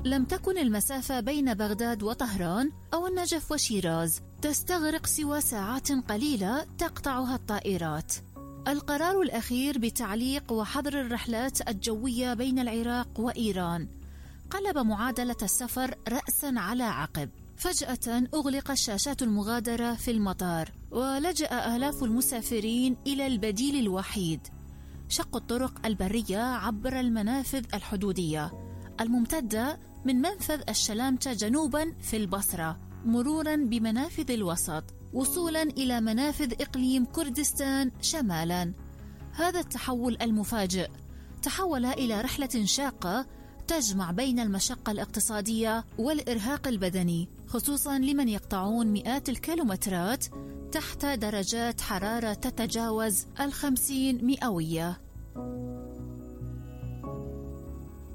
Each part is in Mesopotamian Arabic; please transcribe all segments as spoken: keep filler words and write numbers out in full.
لم تكن المسافة بين بغداد وطهران أو النجف وشيراز تستغرق سوى ساعات قليلة تقطعها الطائرات. القرار الأخير بتعليق وحظر الرحلات الجوية بين العراق وإيران قلب معادلة السفر رأساً على عقب. فجأة أغلق الشاشات المغادرة في المطار، ولجأ آلاف المسافرين إلى البديل الوحيد: شق الطرق البرية عبر المنافذ الحدودية الممتدة من منفذ الشلامتة جنوباً في البصرة، مروراً بمنافذ الوسط، وصولاً إلى منافذ إقليم كردستان شمالاً. هذا التحول المفاجئ تحول إلى رحلة شاقة تجمع بين المشقة الاقتصادية والإرهاق البدني، خصوصاً لمن يقطعون مئات الكيلومترات تحت درجات حرارة تتجاوز الخمسين مئوية.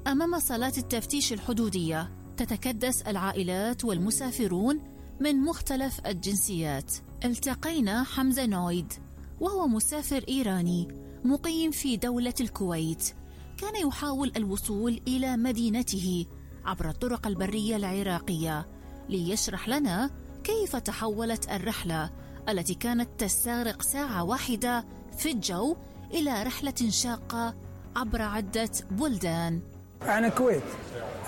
أمام صالات التفتيش الحدودية تتكدس العائلات والمسافرون من مختلف الجنسيات. التقينا حمزة نويد، وهو مسافر إيراني مقيم في دولة الكويت، كان يحاول الوصول إلى مدينته عبر الطرق البرية العراقية، ليشرح لنا كيف تحولت الرحلة التي كانت تستغرق ساعة واحدة في الجو إلى رحلة شاقة عبر عدة بلدان. أنا كويت،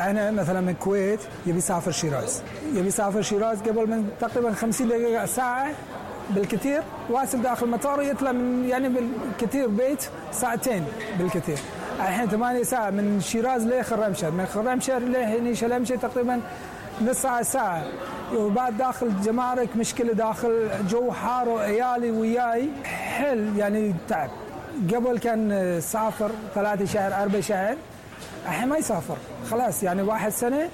أنا مثلا من الكويت يبي يسافر شيراز، يبي يسافر شيراز قبل من تقريبا خمسين دقيقة ساعة بالكثير، واصل داخل المطار يطلع من يعني بالكثير بيت ساعتين بالكثير. الحين ثمانية ساعة من شيراز لخرمشهر، من خرمشهر لهني شلمشة تقريبا نص ساعة ساعة، وبعد داخل جمارك مشكلة، داخل جو حار وعيالي وياي حل يعني تعب. قبل كان سافر ثلاثة شهر أربع شهر، الحين ما يسافر خلاص، يعني واحد سنة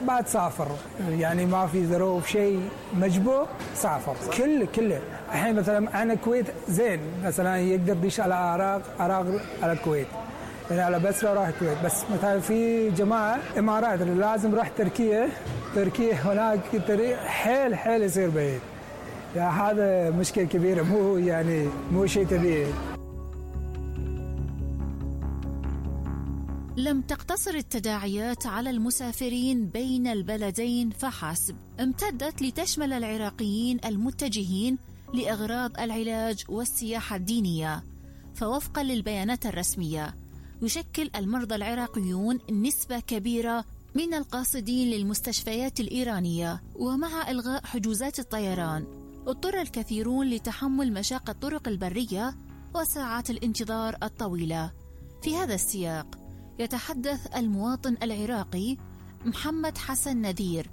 بعد سافر، يعني ما في ظروف شيء مجبور سافر كله كله. الحين مثلا أنا الكويت زين، مثلا يقدر يدش على العراق، عراق على الكويت، يعني على بسرة راح الكويت. بس مثلا في جماعة إمارات اللي لازم راح تركيا، تركيا هناك طريق حيل حيل يصير بعيد، يعني هذا مشكلة كبيرة، مو يعني مو شيء طبيعي. لم تقتصر التداعيات على المسافرين بين البلدين فحسب، امتدت لتشمل العراقيين المتجهين لأغراض العلاج والسياحة الدينية. فوفقا للبيانات الرسمية، يشكل المرضى العراقيون نسبة كبيرة من القاصدين للمستشفيات الإيرانية. ومع إلغاء حجوزات الطيران، اضطر الكثيرون لتحمل مشاق الطرق البرية وساعات الانتظار الطويلة. في هذا السياق يتحدث المواطن العراقي محمد حسن نذير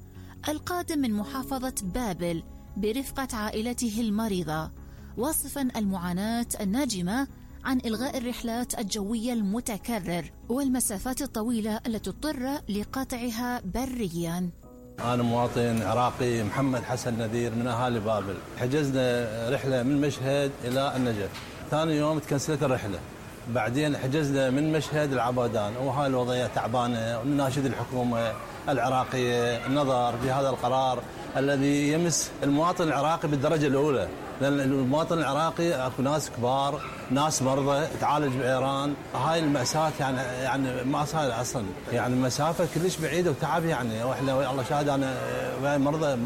القادم من محافظة بابل برفقة عائلته المريضة، واصفا المعاناة الناجمة عن إلغاء الرحلات الجوية المتكرر والمسافات الطويلة التي اضطر لقطعها بريا. أنا مواطن عراقي محمد حسن نذير من أهالي بابل. حجزنا رحلة من مشهد إلى النجف، ثاني يوم تكنسلت الرحلة، بعدين حجزنا من مشهد العبادان، وهاي الوضعية تعبانة. ونناشد الحكومة العراقية النظر في هذا القرار الذي يمس المواطن العراقي بالدرجة الأولى، لأن المواطن العراقي اكو ناس كبار، ناس مرضى تعالج بإيران. هاي المأساة يعني يعني ما صار أصلا، يعني مسافة كلش بعيدة وتعب. يعني واحنا الله شاهد، أنا وياي مرضى،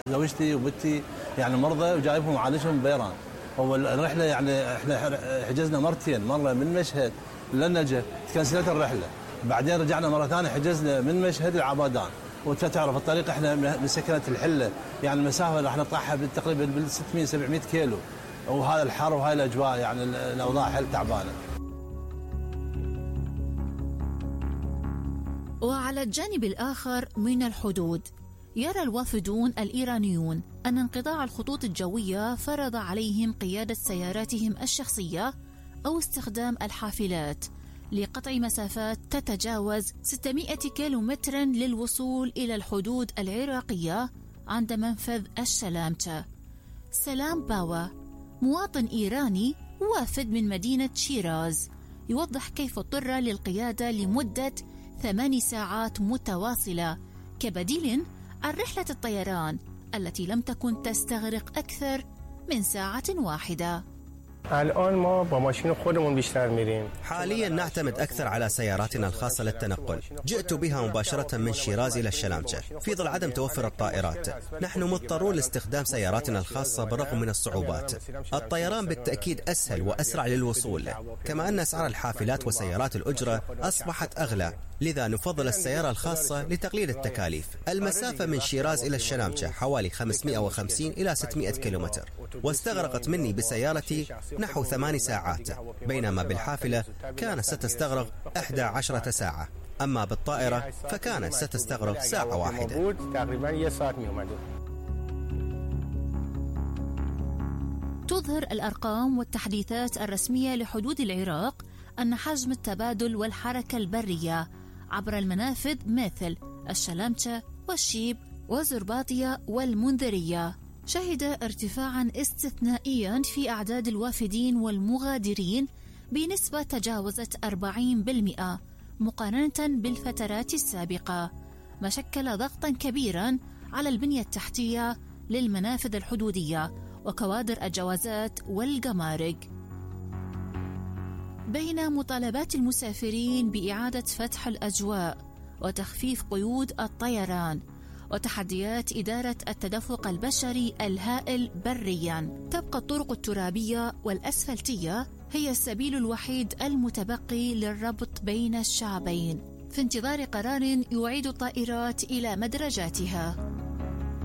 زوجتي وبنتي يعني مرضى وجايبهم عالجهم بإيران. هو الرحلة يعني احنا حجزنا مرتين، مرة من مشهد للنجف تكنسلت الرحلة، بعدين رجعنا مرة ثانية حجزنا من مشهد العبادان. وانت تعرف الطريق احنا من سكنة الحلة، يعني المسافة راح نطلعها تقريبا بال ستمئة سبعمئة كيلو، وهذا الحر وهاي الأجواء يعني الأوضاع حل تعبانة. وعلى الجانب الآخر من الحدود، يرى الوافدون الإيرانيون أن انقطاع الخطوط الجوية فرض عليهم قيادة سياراتهم الشخصية أو استخدام الحافلات لقطع مسافات تتجاوز ستمئة كيلومترا للوصول إلى الحدود العراقية عند منفذ الشلامتة. سلام باوا مواطن إيراني وافد من مدينة شيراز يوضح كيف اضطر للقيادة لمدة ثمان ساعات متواصلة كبديل عن رحلة الطيران التي لم تكن تستغرق أكثر من ساعة واحدة. الان ما با ماشین خودمون بیشتر میریم. حاليا نعتمد أكثر على سياراتنا الخاصة للتنقل. جئت بها مباشرة من شيراز إلى الشلامچة في ظل عدم توفر الطائرات. نحن مضطرون لاستخدام سياراتنا الخاصة بالرغم من الصعوبات. الطيران بالتأكيد أسهل وأسرع للوصول، كما أن أسعار الحافلات وسيارات الأجرة أصبحت أغلى، لذا نفضل السيارة الخاصة لتقليل التكاليف. المسافة من شيراز إلى الشلامچة حوالي خمسمئة وخمسين إلى ستمئة كيلومتر، واستغرقت مني بسيارتي نحو ثمان ساعات، بينما بالحافلة كانت ستستغرق إحدى عشرة ساعة، أما بالطائرة فكانت ستستغرق ساعة واحدة. تظهر الأرقام والتحديثات الرسمية لحدود العراق أن حجم التبادل والحركة البرية عبر المنافذ مثل الشلامچة والشيب وزرباطية والمنذرية شهد ارتفاعا استثنائيا في أعداد الوافدين والمغادرين بنسبة تجاوزت أربعين بالمئة مقارنة بالفترات السابقة، ما شكل ضغطا كبيرا على البنية التحتية للمنافذ الحدودية وكوادر الجوازات والجمارك. بين مطالبات المسافرين بإعادة فتح الأجواء وتخفيف قيود الطيران وتحديات إدارة التدفق البشري الهائل برياً، تبقى الطرق الترابية والأسفلتية هي السبيل الوحيد المتبقي للربط بين الشعبين في انتظار قرار يعيد الطائرات إلى مدرجاتها.